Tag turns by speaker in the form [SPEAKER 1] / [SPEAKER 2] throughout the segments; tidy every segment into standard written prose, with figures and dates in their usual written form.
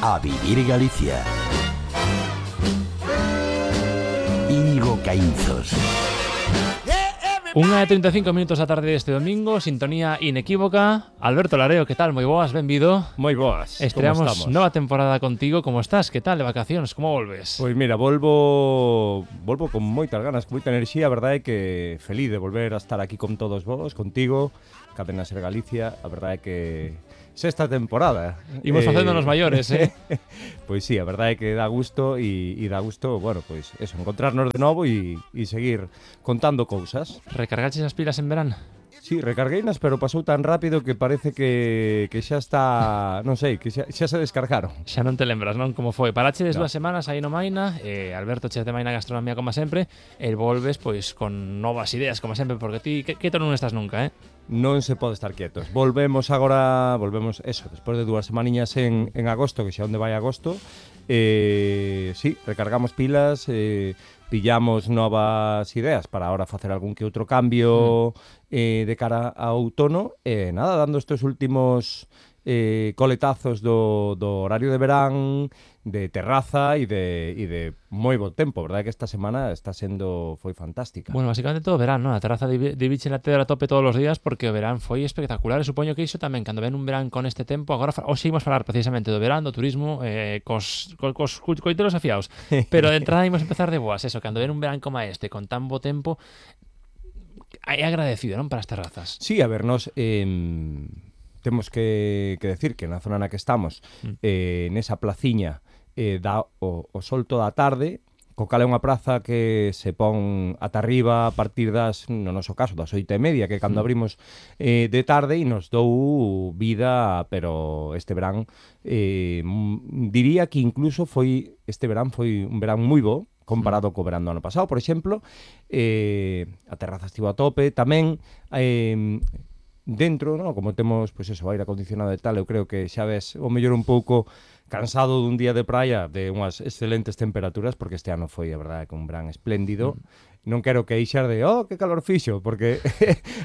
[SPEAKER 1] A vivir Galicia. Íñigo Caínzos.
[SPEAKER 2] 1:35 da tarde deste domingo, sintonía inequívoca. Alberto Lareo, que tal? Moi boas, benvido.
[SPEAKER 3] Moi boas,
[SPEAKER 2] estreamos nova temporada contigo, como estás? Que tal de vacacións, como volves?
[SPEAKER 3] Pois mira, volvo con moitas ganas, con moita enerxía. A verdade é que feliz de volver a estar aquí con todos vos, contigo, Cadena Ser Galicia. A verdade é que sexta temporada.
[SPEAKER 2] Imos facéndonos maiores,
[SPEAKER 3] Pois sí, a verdade é que dá gusto e dá gusto, bueno, pois eso, encontrarnos de novo e seguir contando cousas.
[SPEAKER 2] Recargaches as pilas en verán?
[SPEAKER 3] Sí, recargueinas, pero pasou tan rápido que parece que xa está, non sei, que xa se descargaron.
[SPEAKER 2] Xa non te lembras, non? Como foi? Parachedes
[SPEAKER 3] No.
[SPEAKER 2] 2 semanas aí no Maina, Alberto che de Maina Gastronomía como sempre, e volves pois con novas ideas como sempre, porque ti quieto non estás nunca,
[SPEAKER 3] Non se pode estar quietos. Volvemos eso, despois de 2 semaniñas en agosto, que xa onde vai agosto. Sí, recargamos pilas, pillamos novas ideas para ahora facer algún que outro cambio de cara ao outono. Nada, dando estes últimos coletazos do horario de verán, de terraza e de moi bo tempo. Verdade que esta semana foi fantástica.
[SPEAKER 2] Bueno, básicamente todo verán, ¿no? A terraza de biche na tedra a tope todos os días, porque o verán foi espectacular. E supoño que iso tamén, cando ven un verán con este tempo, agora hoxe imos falar precisamente do verán, do turismo, cos coiteros afiados. Pero de entrada imos empezar de boas, eso, cando ven un verán como este, con tan bo tempo, é agradecido, non, para as terrazas.
[SPEAKER 3] Sí, a ver, nos temos que decir que na zona na que estamos, nesa placiña, dá o sol toda a tarde, co cal é unha praza que se pon ata arriba a partir no noso caso, das 8:30, que cando abrimos de tarde, e nos dou vida, pero este verán, diría que incluso este verán foi un verán moi bo, comparado co verán do ano pasado, por exemplo. A terraza estivo a tope, tamén dentro, ¿no? Como temos, pois eso, aire acondicionado e tal, eu creo que xa ves o mellor un pouco cansado dun día de praia, de unhas excelentes temperaturas, porque este ano foi, a verdade, un verán espléndido. Non quero queixar de, que calor fixo, porque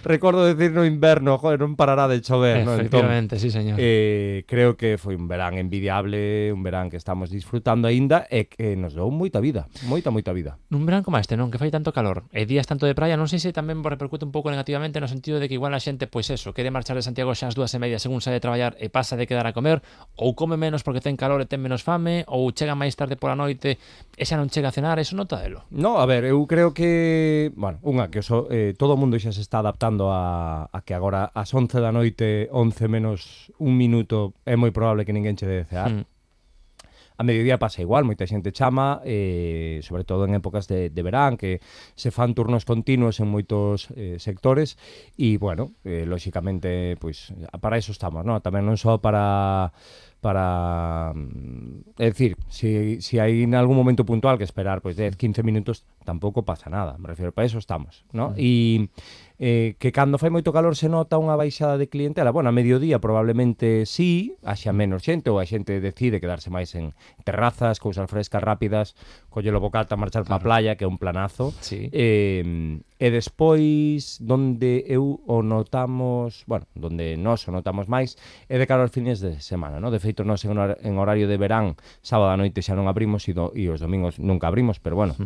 [SPEAKER 3] recordo decir no inverno, joder, non parará de chover, ¿no?
[SPEAKER 2] Efectivamente, entón, sí, señor.
[SPEAKER 3] Creo que foi un verán envidiable, un verán que estamos disfrutando aínda e que nos dou moita vida, moita vida.
[SPEAKER 2] Nun verán como este, non? Que fai tanto calor e días tanto de praia, non sei se tamén repercute un pouco negativamente no sentido de que igual a xente, pois eso, quere marchar de Santiago xa ás 2:30 según sae de traballar e pasa de quedar a comer, ou come menos porque ten calor e ten menos fame, ou chega máis tarde pola noite e xa non chega a cenar, eso notadelo.
[SPEAKER 3] No, a ver, eu creo que bueno, todo o mundo xa se está adaptando a que agora ás 11 da noite, 11 menos un minuto, é moi probable que ninguén che debe cear. A mediodía pasa igual, moita xente chama, sobre todo en épocas de verán, que se fan turnos continuos en moitos sectores, e, bueno, lóxicamente, pois, para iso estamos, non? Tamén non só para é dicir, si hai en algún momento puntual que esperar pois 10, 15 minutos, tampouco pasa nada, me refiro, para eso estamos, ¿no? E que cando fai moito calor se nota unha baixada de clientela. Bueno, a mediodía probablemente sí, haxa menos xente, ou a xente decide quedarse máis en terrazas, cousas frescas, rápidas, coller o bocata, marchar pa playa, que é un planazo.
[SPEAKER 2] Sí.
[SPEAKER 3] E despois, donde nós o notamos máis, é de cara aos fines de semana, ¿no? De feito, nós en horario de verán, sábado a noite xa non abrimos e os domingos nunca abrimos, pero bueno,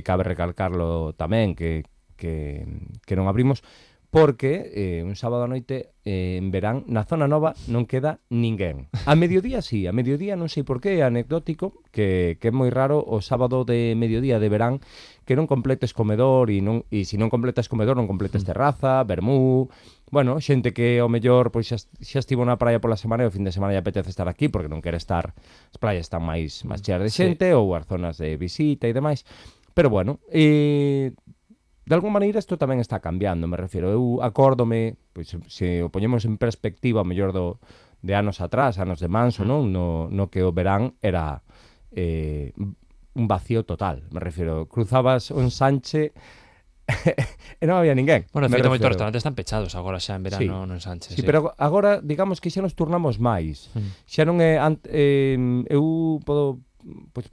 [SPEAKER 3] cabe recalcarlo tamén que non abrimos, porque un sábado a noite en verán na zona nova non queda ninguén. A mediodía sí, a mediodía non sei por qué, é anecdótico, que é moi raro o sábado de mediodía de verán que non completes comedor e se non completas comedor non completes terraza, vermú. Bueno, xente que ao mellor pois xa estivo na praia pola semana e o fin de semana lle apetece estar aquí porque non quere estar, as praias están máis cheas de xente, ou as zonas de visita e demais. Pero bueno, de alguma maneira isto tamén está cambiando, me refiro. Eu acórdome, pois se o poñemos en perspectiva ao mellor de anos atrás, anos de Manso, non? No que o verán era un vacío total, me refiro. Cruzabas un Sanche e non había ninguén.
[SPEAKER 2] Bueno, feito moitos restaurantes están pechados agora xa en verano, non Sánchez.
[SPEAKER 3] Sí, pero agora, digamos que xa nos turnamos máis. Xa non é... eu podo... Pois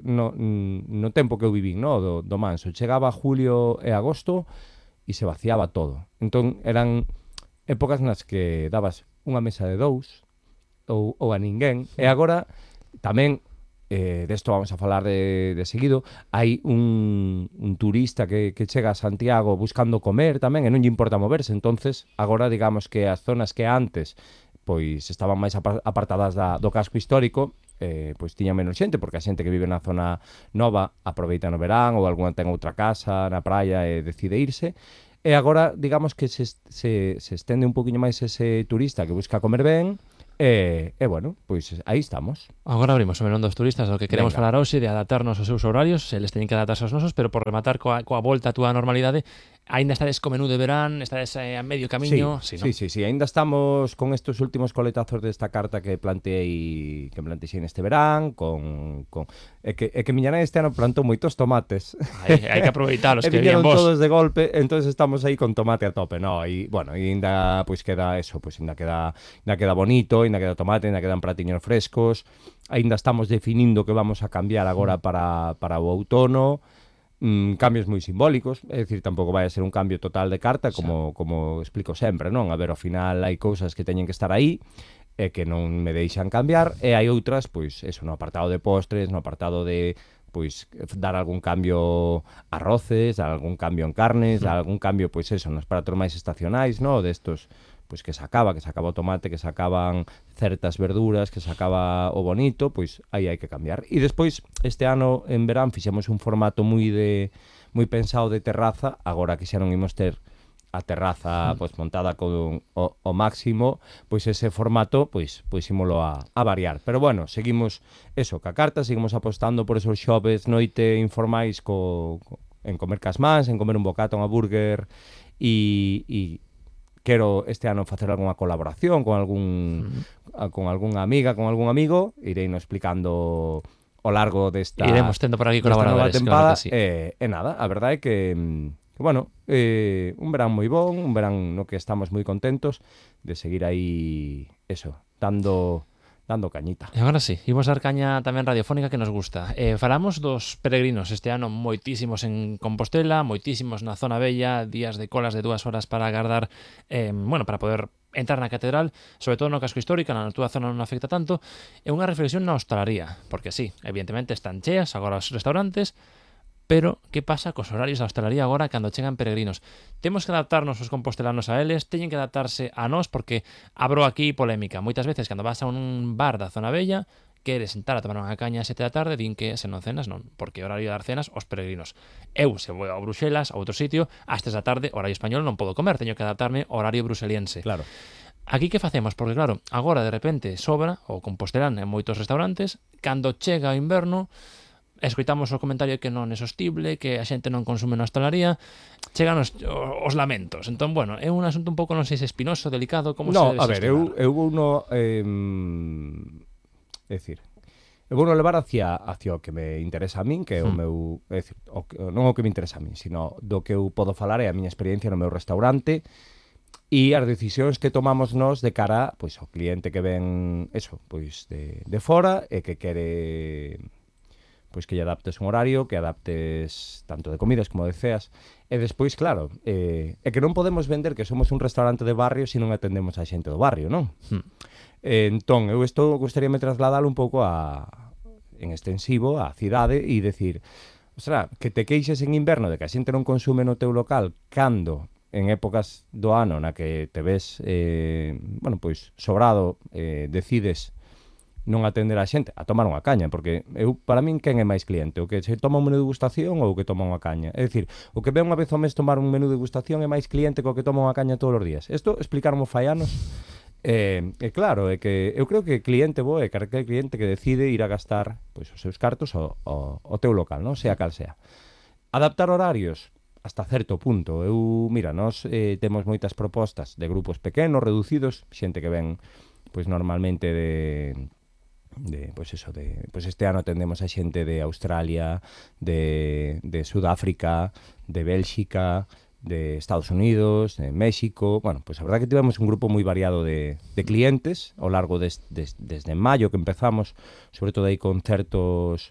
[SPEAKER 3] no tempo que eu vivín, no, do Manso, chegaba julio e agosto e se vaciaba todo. Entón eran épocas nas que dabas unha mesa de 2 ou a ninguén, e agora tamén desto vamos a falar de seguido, hai un turista que chega a Santiago buscando comer tamén e non lle importa moverse, entonces agora digamos que as zonas que antes pois estaban máis apartadas do casco histórico, pois tiñan menos xente, porque a xente que vive na zona nova aproveita no verán ou algunha ten outra casa na praia e decide irse. E agora, digamos que se estende un poquinho máis ese turista que busca comer ben. E bueno, pois aí estamos.
[SPEAKER 2] Agora abrimos o melón dos turistas, do que queremos
[SPEAKER 3] Venga.
[SPEAKER 2] falar hoxe, de adaptarnos aos seus horarios, eles teñen que adaptarse aos nosos, pero por rematar coa volta a túa normalidade, aínda estades co menú de verán, estades a medio camiño,
[SPEAKER 3] Sí,
[SPEAKER 2] ¿no?
[SPEAKER 3] sí, aínda estamos con estos últimos coletazos desta carta que plantexei neste verán, é que miña nai este ano plantou moitos tomates.
[SPEAKER 2] Hai que aproveitalos,
[SPEAKER 3] E
[SPEAKER 2] que bien
[SPEAKER 3] viñeron
[SPEAKER 2] vos.
[SPEAKER 3] todos de golpe, entonces estamos aí con tomate a tope, no, e bueno, e ainda pois queda eso, pois ainda queda bonito, ainda queda tomate, ainda quedan pratiños frescos, ainda estamos definindo que vamos a cambiar agora para o outono. Cambios moi simbólicos, é dicir, tampouco vai a ser un cambio total de carta, como explico sempre, non? A ver, ao final hai cousas que teñen que estar aí e que non me deixan cambiar, e hai outras, pois, eso, no apartado de postres, no apartado de pois dar algún cambio a arroces, algún cambio en carnes, algún cambio, pois eso, nos pratos máis estacionais, no? Destos, pois que se acaba o tomate, que se acaban certas verduras, que se acaba o bonito, pois aí hai que cambiar. E despois, este ano en verán fixemos un formato moi pensado de terraza, agora que xa non imos ter a terraza pois montada con o máximo, pois ese formato pois ímolo a variar. Pero bueno, seguimos eso, ca carta, seguimos apostando por esos xoves noite informais en comer cas mans, en comer un bocata, un burger e quero este ano facer algunha colaboración con algunha amiga, con algún amigo, ireino explicando ao largo desta
[SPEAKER 2] Iremos tendo por aquí
[SPEAKER 3] nova
[SPEAKER 2] colaboradores,
[SPEAKER 3] tempada,
[SPEAKER 2] claro que sí.
[SPEAKER 3] e nada, a verdade é que bueno, un verán moi bon, un verán no que estamos moi contentos de seguir aí, eso, dando cañita.
[SPEAKER 2] E agora sí, imos dar caña tamén radiofónica que nos gusta. Falamos dos peregrinos este ano, moitísimos en Compostela, moitísimos na Zona Bella, días de colas de 2 horas para agardar, para poder entrar na catedral, sobre todo no casco histórico, na túa zona non afecta tanto, e unha reflexión na hostalaría, porque sí, evidentemente están cheas agora os restaurantes, pero que pasa cos horarios da hostalería agora cando chegan peregrinos? Temos que adaptarnos os compostelanos a eles, teñen que adaptarse a nós, porque abro aquí polémica. Moitas veces cando vas a un bar da Zona Bella, queres sentar a tomar unha caña a 7 da tarde, din que se non cenas non, porque é horario de dar cenas aos peregrinos. Eu, se vou a Bruxelas, a outro sitio, ás 3 da tarde, horario español, non podo comer, teño que adaptarme ao horario bruseliense.
[SPEAKER 3] Claro.
[SPEAKER 2] Aquí que facemos? Porque claro, agora de repente sobra o compostelán en moitos restaurantes, cando chega o inverno, escoitamos o comentario que non é sostible, que a xente non consume na hostalaría, chegan os lamentos. Entón, bueno, é un asunto un pouco, non sei se espinoso, delicado, como se debe
[SPEAKER 3] a ver,
[SPEAKER 2] xestionar?
[SPEAKER 3] eu vou no decir, eu vou no levar hacia o que me interesa a min, que é o meu, é dicir, non o que me interesa a min, sino do que eu podo falar é a miña experiencia no meu restaurante e as decisións que tomamos nós de cara, pois, ao cliente que ven, eso, pois, de fora e que quere pois que lle adaptes un horario, que adaptes tanto de comidas como de ceas, e despois, claro, é que non podemos vender que somos un restaurante de barrio se non atendemos a xente do barrio, non? Entón, eu isto gostaríame trasladalo un pouco en extensivo á cidade e decir, ostra, que te queixes en inverno de que a xente non consume no teu local cando en épocas do ano na que te ves, pois, sobrado, decides non atender a xente, a tomar unha caña, porque para min, quen é máis cliente? O que se toma un menú de degustación ou o que toma unha caña? É dicir, o que ve unha vez ao mes tomar un menú de degustación é máis cliente que o que toma unha caña todos os días. Isto explicarmo fai anos, claro, é que eu creo que cliente bo é aquel cliente que decide ir a gastar pois, os seus cartos ao teu local, non? Sea cal sea. Adaptar horarios hasta certo punto. Nós temos moitas propostas de grupos pequenos, reducidos, xente que ven pois normalmente pois este ano atendemos a xente de Australia, de Sudáfrica, de Bélxica, de Estados Unidos, de México. Bueno, pois a verdade que tivemos un grupo moi variado de clientes ao largo desde maio que empezamos, sobre todo aí con certos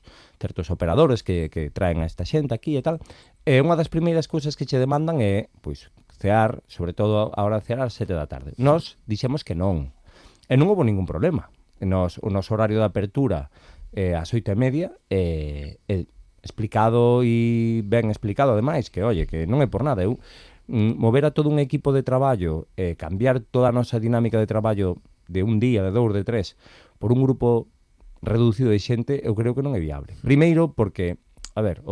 [SPEAKER 3] operadores que traen a esta xente aquí e tal. E unha das primeiras cousas que che demandan é, pois, cear, sobre todo a hora de cear ás 7 da tarde. Nós dixemos que non. E non houve ningún problema. O noso horario de apertura ás 8:30, explicado e ben explicado, ademais, que, oye, que non é por nada, eu mover a todo un equipo de traballo, cambiar toda a nosa dinámica de traballo de un día, de 2, de 3, por un grupo reducido de xente, eu creo que non é viable. Primeiro, porque, a ver,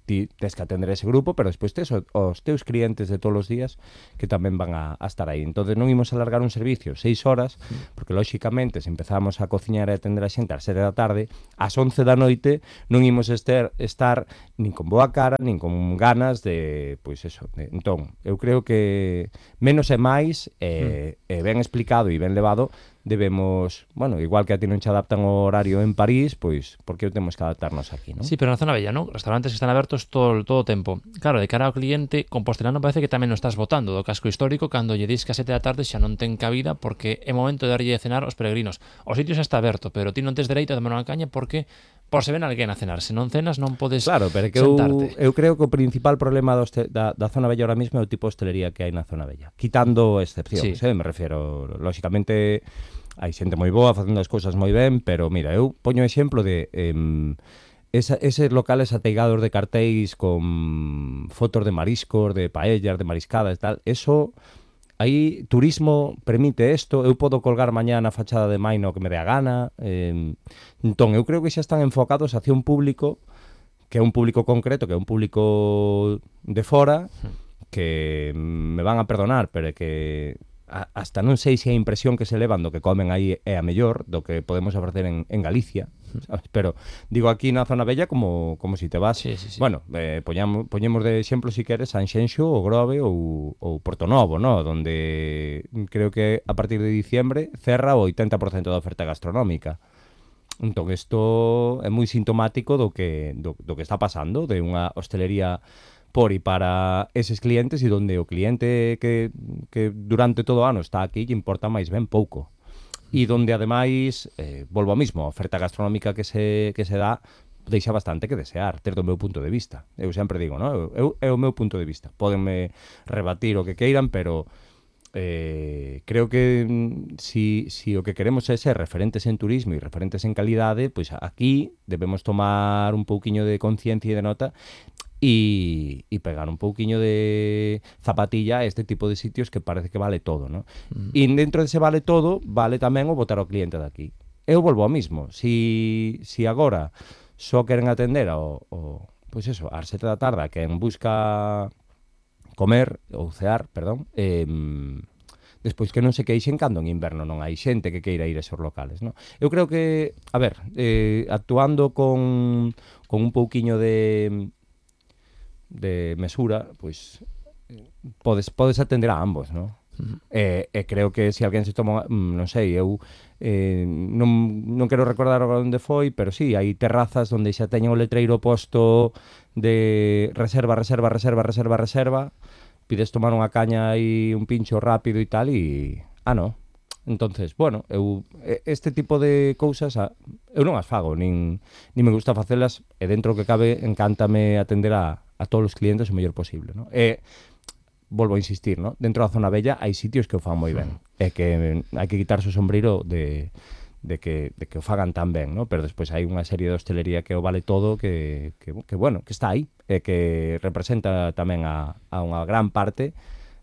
[SPEAKER 3] ti tes que atender ese grupo, pero despois tes os teus clientes de todos os días que tamén van a estar aí. Entonces non imos alargar un servicio 6 horas, porque lóxicamente se empezamos a cociñar e atender a xente ás 7 da tarde, ás 11 da noite non imos estar nin con boa cara, nin con ganas de, pois eso. Entón, eu creo que menos é máis, ben explicado e ben levado, debemos, bueno, igual que a ti non che adaptan o horario en París, pois, por que temos que adaptarnos aquí, non?
[SPEAKER 2] Sí, pero na zona bella, non? Restaurantes que están abertos todo o tempo. Claro, de cara ao cliente, Compostelano parece que tamén o estás botando do casco histórico cando lle dis que a 7 da tarde xa non ten cabida porque é momento de darlle de cenar aos peregrinos. O sitio xa está aberto, pero ti non tes dereito a tomar unha caña porque por se ven alguén a cenar. Se non cenas non podes
[SPEAKER 3] claro, pero que
[SPEAKER 2] sentarte.
[SPEAKER 3] Eu creo que o principal problema da zona bella ahora mismo é o tipo de hostelería que hai na zona bella. Quitando excepcións, me refiero, lóxicamente hai xente moi boa facendo as cousas moi ben, pero mira, eu poño exemplo de eses locales ateigados de cartéis con fotos de mariscos, de paellas, de mariscadas e tal, eso aí turismo permite isto, eu podo colgar mañá na fachada de Maino que me dé a gana, entón eu creo que xa están enfocados hacia un público que é un público concreto, que é un público de fora, que me van a perdonar, pero que hasta non sei se a impresión que se levan do que comen aí é a mellor do que podemos ofrecer en Galicia, sabes? Pero digo aquí na zona bella como si te vas,
[SPEAKER 2] sí.
[SPEAKER 3] bueno, poñemos de exemplo si queres Sanxenxo ou Grove ou Portonovo, ¿no? Donde creo que a partir de diciembre cerra o 80% da oferta gastronómica. Entón, isto é moi sintomático do que está pasando, de unha hostelería por e para eses clientes e donde o cliente que durante todo o ano está aquí lle importa máis ben pouco. E donde, ademais, volvo ao mismo, a oferta gastronómica que se dá deixa bastante que desear, desde o meu punto de vista. Eu sempre digo, no? É o meu punto de vista. Pódenme rebatir o que queiran, pero creo que si o que queremos é ser referentes en turismo e referentes en calidade, pois aquí debemos tomar un pouquiño de conciencia e de nota e pegar un pouquiño de zapatilla a este tipo de sitios que parece que vale todo, ¿no? E dentro dese vale todo, vale tamén o botar ao cliente daqui. Eu volvo ao mismo. Si agora só queren atender pois eso, ás 7 da tarde, quen busca comer ou cear, perdón, despois que non se queixen cando en inverno non hai xente que queira ir a esos locales, ¿no? Eu creo que, a ver, actuando con un pouquiño de mesura, pois podes atender a ambos, ¿no? Creo que se alguén se toma, non sei, eu non quero recordar onde foi, pero sí, hai terrazas onde xa teñen o letreiro posto de reserva, pides tomar unha caña e un pincho rápido e tal e... no. Entonces, bueno, este tipo de cousas eu non as fago, nin me gusta facelas, e dentro que cabe encántame atender a todos os clientes o mellor posible, ¿no? Volvo a insistir, ¿no? Dentro da zona bella hai sitios que o fan moi ben, e que hai que quitarse o sombreiro de que o fagan tan ben, ¿no? Pero despois hai unha serie de hostelería que o vale todo, que bueno, que está aí, e que representa tamén a unha gran parte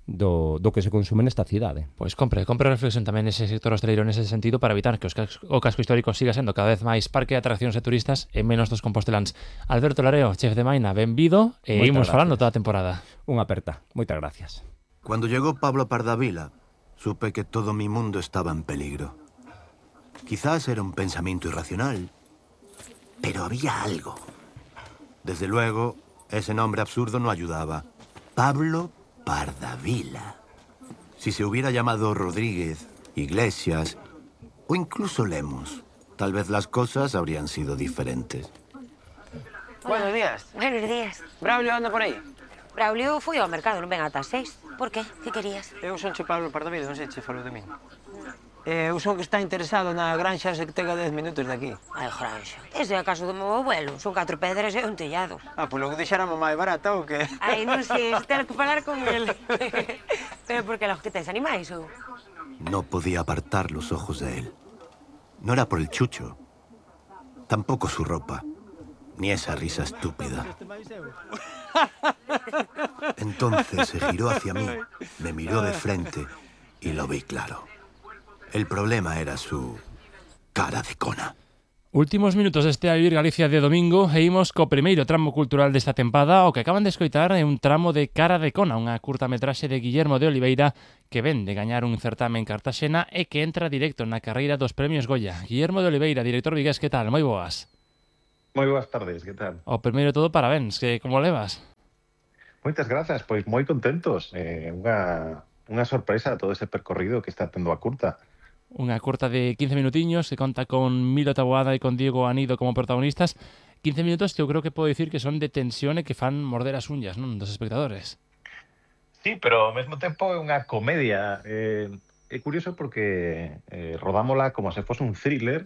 [SPEAKER 3] do que se consume nesta cidade.
[SPEAKER 2] Pois compre reflexión tamén nese sector hosteleiro nese sentido para evitar que o casco histórico siga sendo cada vez máis parque de atraccións de turistas e menos dos composteláns. Alberto Lareo, chef de Maina, benvido e imos falando toda a temporada.
[SPEAKER 3] Unha aperta. Moitas gracias.
[SPEAKER 4] Cuando llegó Pablo Pardavila, supe que todo mi mundo estaba en peligro. Quizás era un pensamiento irracional, pero había algo. Desde luego, ese nombre absurdo no ayudaba. Pablo Pardavila. Si se hubiera llamado Rodríguez, Iglesias o incluso Lemos, tal vez las cosas habrían sido diferentes.
[SPEAKER 5] Buenos días.
[SPEAKER 6] Buenos días.
[SPEAKER 5] Braulio anda por aí?
[SPEAKER 6] Braulio foi ao mercado, non ven ata as 6. Por qué? Que querías?
[SPEAKER 5] Eu son che Pablo Pardavila, non sei che falou de min. Eu son que está interesado na granxa sectega 10 minutos de aquí.
[SPEAKER 6] Ai, granxa. Ese é a casa do meu abuelo. Son 4 pedras e un tellado.
[SPEAKER 5] Pois logo deixáramos máis barata ou que?
[SPEAKER 6] Ai, non sei, tens que falar con ele. Pero porque los que tes animais ou?
[SPEAKER 4] No podía apartar los ojos de él. No era por el chucho. Tampoco su ropa, ni esa risa estúpida. Entonces se giró hacia mí, me miró de frente y lo vi claro. El problema era su cara de cona.
[SPEAKER 2] Últimos minutos deste A Vivir Galicia de domingo e imos co primeiro tramo cultural desta tempada. O que acaban de escoitar é un tramo de Cara de Cona, unha curtametraxe de Guillermo de Oliveira que ven de gañar un certame en Cartaxena e que entra directo na carreira dos premios Goya. Guillermo de Oliveira, director vigués, que tal? Moi boas.
[SPEAKER 7] Moi boas tardes, que tal?
[SPEAKER 2] O primeiro de todo, parabéns, que como levas?
[SPEAKER 7] Moitas grazas, pois moi contentos. Unha sorpresa todo ese percorrido que está tendo a curta.
[SPEAKER 2] Unha curta de 15 minutiños que conta con Milo Taboada e con Diego Anido como protagonistas. 15 minutos que eu creo que podo dicir que son de tensión e que fan morder as uñas, non, dos espectadores.
[SPEAKER 7] Sí, pero ao mesmo tempo é unha comedia. É curioso porque rodámola como se fose un thriller.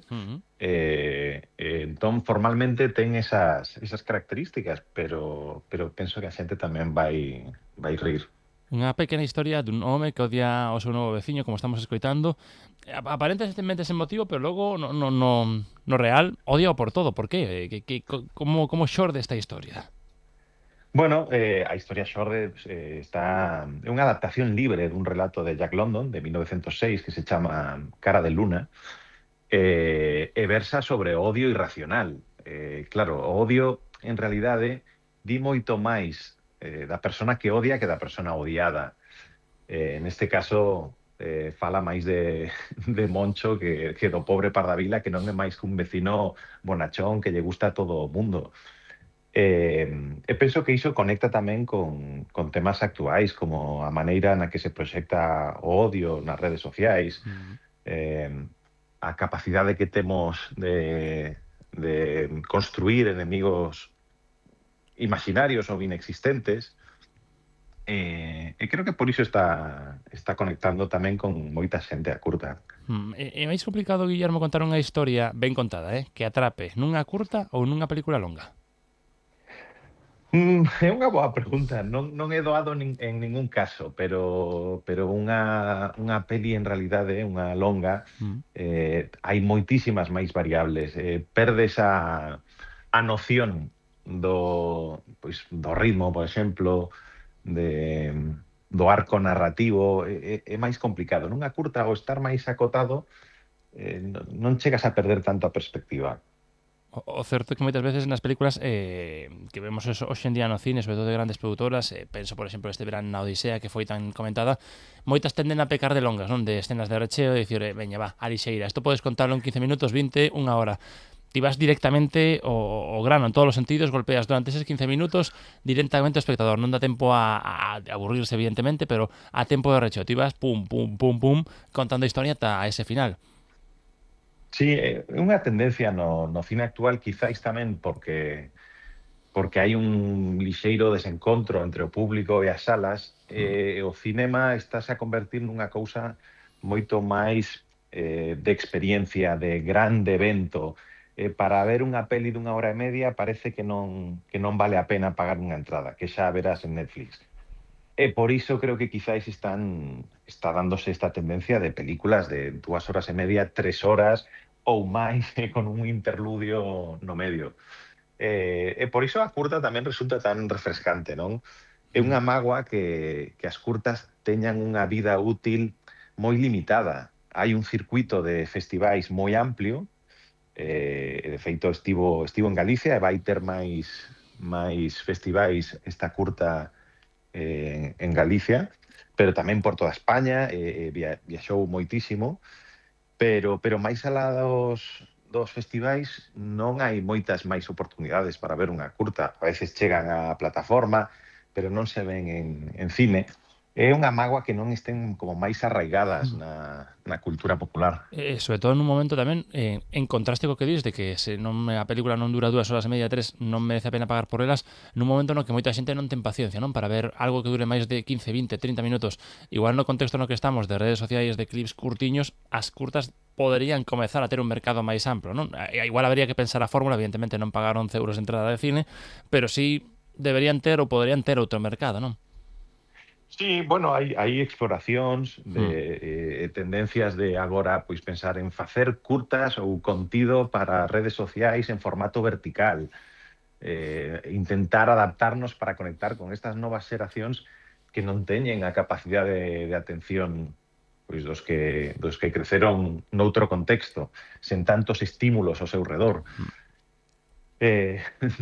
[SPEAKER 7] Entón, formalmente ten esas características, pero penso que a xente tamén vai rir.
[SPEAKER 2] Unha pequena historia dun home que odia ao seu novo veciño, como estamos escoitando. Aparentemente ese motivo, pero logo no real odia por todo. Por qué? Como xorde esta historia?
[SPEAKER 7] Bueno, a historia xorde é unha adaptación libre dun relato de Jack London de 1906 que se chama Cara de Luna e versa sobre odio irracional. Claro, o odio en realidade di moito máis da persona que odia que da persona odiada. Neste caso, fala máis de Moncho que do pobre Pardavila, que non é máis que un vecino bonachón que lle gusta a todo o mundo. E penso que iso conecta tamén con temas actuais, como a maneira na que se proxecta o odio nas redes sociais, a capacidade que temos de construir enemigos imaginarios ou inexistentes, e creo que por iso está conectando tamén con moita xente a curta.
[SPEAKER 2] É máis complicado, Guillermo, contar unha historia ben contada, que atrape nunha curta ou nunha película longa?
[SPEAKER 7] É unha boa pregunta. Non é doado en ningún caso, pero unha peli en realidade, unha longa, hai moitísimas máis variables. Perdes a noción do ritmo, por exemplo, do arco narrativo, é máis complicado. Nunha curta, ao estar máis acotado, non chegas a perder tanto a perspectiva.
[SPEAKER 2] O certo é que moitas veces nas películas que vemos hoxe en día no cine, sobre todo de grandes produtoras, penso, por exemplo, este verán na Odisea, que foi tan comentada, moitas tenden a pecar de longas, non? De escenas de recheo, e dicir, veña, va, a lixeira, isto podes contarlo en 15 minutos, 20, unha hora. Ti vas directamente o grano en todos os sentidos, golpeas durante eses 15 minutos directamente ao espectador. Non dá tempo a aburrirse, evidentemente, pero a tempo de recheo. Ti vas pum, pum, pum, pum, contando a historia ata ese final.
[SPEAKER 7] Sí, é unha tendencia no cine actual, quizáis tamén porque hai un lixeiro desencontro entre o público e as salas, e o cinema estáse a convertir nunha cousa moito máis de experiencia, de grande evento. Para ver unha peli dunha hora e media parece que non vale a pena pagar unha entrada, que xa verás en Netflix. E por iso creo que quizáis está dándose esta tendencia de películas de 2 horas e media, 3 horas ou máis, con un interludio no medio. E por iso a curta tamén resulta tan refrescante, non? É unha mágoa que as curtas teñan unha vida útil moi limitada. Hai un circuito de festivais moi amplio, de feito estivo en Galicia e vai ter máis festivais esta curta en Galicia, pero tamén por toda España, viaxou moitísimo, pero máis alá dos festivais non hai moitas máis oportunidades para ver unha curta. A veces chegan á plataforma, pero non se ven en cine. É unha mágoa que non estén como máis arraigadas na cultura popular.
[SPEAKER 2] Sobre todo nun momento tamén en contraste co que dis de que se a película non dura 2 horas e media, 3, non merece a pena pagar por elas, nun momento no que moita xente non ten paciencia, non, para ver algo que dure máis de 15, 20, 30 minutos. Igual no contexto no que estamos de redes sociais, de clips curtiños, as curtas poderían comezar a ter un mercado máis amplo, non? Igual habría que pensar a fórmula, evidentemente non pagar 11 euros de entrada de cine, pero sí deberían ter ou poderían ter outro mercado, non?
[SPEAKER 7] Sí, bueno, hai exploracións de tendencias de agora pois pensar en facer curtas ou contido para redes sociais en formato vertical. Intentar adaptarnos para conectar con estas novas xeracións que non teñen a capacidade de atención pois dos que creceron noutro contexto, sen tantos estímulos ao seu redor.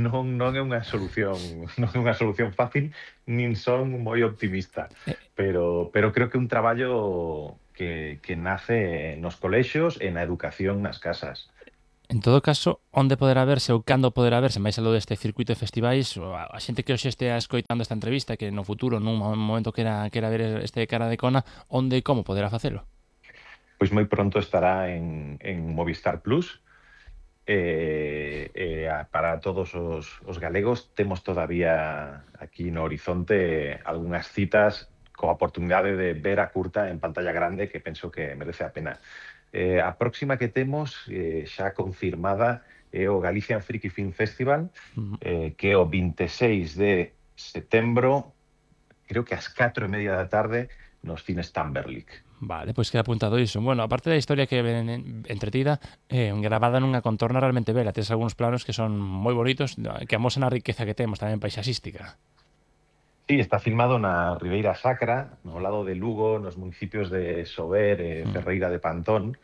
[SPEAKER 7] Non é unha solución non é unha solución fácil, nin son moi optimista, pero creo que é un traballo que nace nos colexios e na educación nas casas.
[SPEAKER 2] En todo caso, onde poderá verse ou cando poderá verse, máis aló deste circuito de festivais, ou a xente que hoxe estea escoitando esta entrevista, que no futuro, nun momento quera ver este Cara de Cona, onde e como poderá facelo?
[SPEAKER 7] Pois moi pronto estará en Movistar Plus. Para todos os galegos temos todavía aquí no horizonte algunhas citas coa oportunidade de ver a curta en pantalla grande que penso que merece a pena. A próxima que temos xa confirmada é o Galician Freaky Film Festival, que é o 26 de setembro, creo que ás 4:30 da tarde, nos cines Tamberlik.
[SPEAKER 2] Vale, pois queda apuntado iso. Bueno, aparte da historia que ven entretida, gravada nunha contorna realmente bela. Tes algúns planos que son moi bonitos, que amosan a riqueza que temos tamén paisaxística.
[SPEAKER 7] Sí, está filmado na Ribeira Sacra, no lado de Lugo, nos municipios de Sober e Ferreira de Pantón.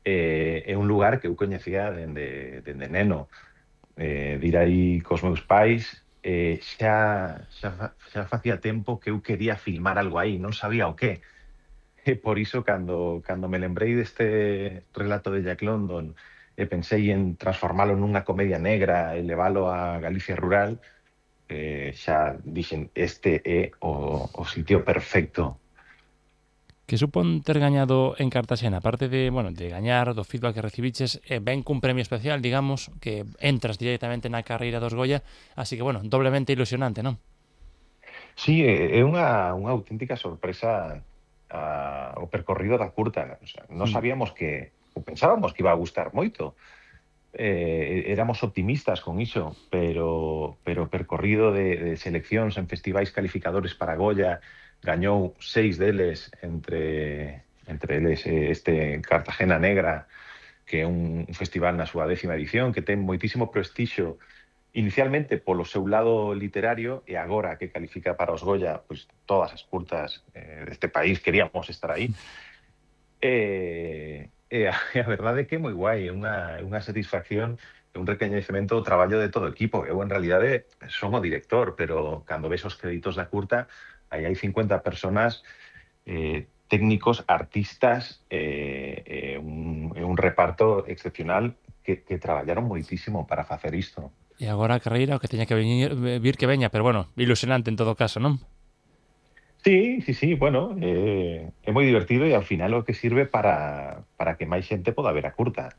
[SPEAKER 7] É un lugar que eu coñecía dende neno. De ir aí cos meus pais, xa facía tempo que eu quería filmar algo aí, non sabía o que. E por iso, cando me lembrei deste relato de Jack London e pensei en transformalo nunha comedia negra e leválo a Galicia rural, xa dixen, este é o sitio perfecto.
[SPEAKER 2] Que supón ter gañado en Cartaxena, aparte de, bueno, de gañar, do feedback que recibiches, ven cun premio especial, digamos, que entras directamente na carreira dos Goya, así que, bueno, doblemente ilusionante, non?
[SPEAKER 7] Sí, é unha auténtica sorpresa o percorrido da curta. O sea, non sabíamos ou pensábamos que iba a gustar moito. Éramos optimistas con iso, pero o percorrido de seleccións en festivais calificadores para Goya gañou 6 deles, entre eles este Cartagena Negra, que é un festival na súa 10ª edición, que ten moitísimo prestixio inicialmente polo seu lado literario e agora que califica para os Goya, pois todas as curtas deste país queríamos estar aí. A verdade é que é moi guai, é unha satisfacción, é un recoñecemento do traballo de todo o equipo. Eu, en realidade, son o director, pero cando ves os créditos da curta, aí hai 50 personas, técnicos, artistas, un reparto excepcional que traballaron moitísimo para facer isto.
[SPEAKER 2] E agora a carreira o que teña que vir que veña, pero bueno, ilusionante en todo caso, non?
[SPEAKER 7] Sí, bueno, é moi divertido e ao final o que sirve para que máis xente poda ver a curta.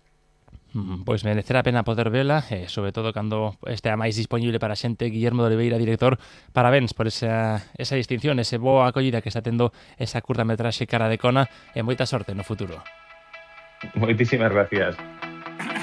[SPEAKER 2] Pois merecerá a pena poder vela, sobre todo cando estea máis disponible para a xente. Guillermo de Oliveira, director, parabéns por esa distinción, ese boa acollida que está tendo esa curta metraxe Cara de Cona, e moita sorte no futuro.
[SPEAKER 7] Moitísimas gracias.